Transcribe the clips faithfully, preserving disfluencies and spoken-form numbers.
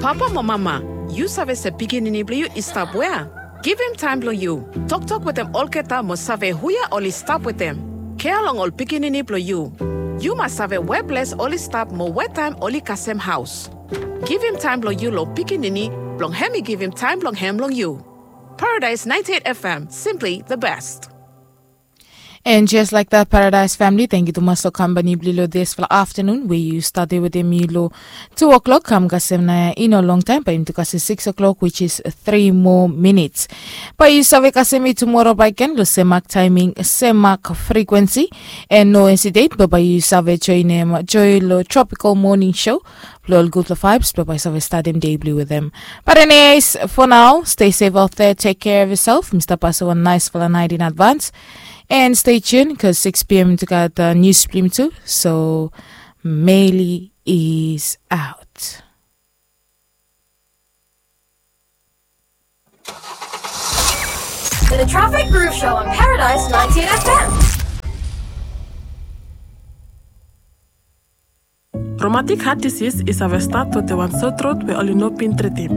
Papa mo mama, yu save se pikinini blong yu i stap wea? Givim taem blong yu. Toktok wetem olgeta mo save huje oli stap wetem. Kea long ol pikinini blong yu. Yu mas save we ples oli stap mo we taem oli kasem haos. Givim taem blong yu long pikinini blong hem i givim taem blong hem long yu. Paradise ninety-eight F M, simply the best. And just like that, Paradise family, thank you tumas long kampani blong yu long dispela afternoon we yu start wetem mi long two o'clock kam kasem na i no long taem, bae yumi tu kasem six o'clock, which is three more minutes. Bae yu save kasem mi tumora bae ken long sem mak timing, sem mak frequency, and no hesitate, bae yu save joinem join long Tropical Morning Show blong ol gutpela vibes blong bae save statem dei blong yu wetem. But anyways, for now, stay safe out there, take care of yourself. Mi stap pasem wan naesfala naet in advance. And stay tuned, 'cause six p.m. tu gat uh, news blong yumi tu. So Meli is out. The Traffic Groove Show on Paradise ninety-eight F M. Romatik hat disis i save stat wetem wan sotrot we oli no bin tritim.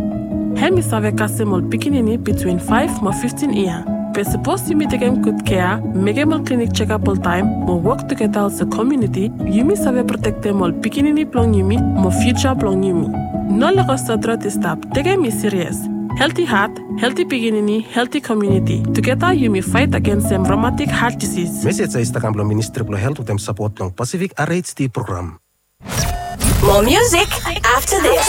Hem i save kasem ol pikinini bitwin faef mo fiftin yia. Be sapos yumi tekem gud kea, mekem ol klinik jekap oltaem, mo wok tugeta olsem komuniti, yumi save protektem ol pikinini blong yumi mo fiuja blong yumi. No lego sotrot i stap, tekem i sirias. Helti hat, helti pikinini, helti komuniti. Tugeta yumi faet agensem romatik hat disis. Mesej ya i stap kam blong Ministri blong Helt wetem sapot blong Pasifik R H D program. More music after this.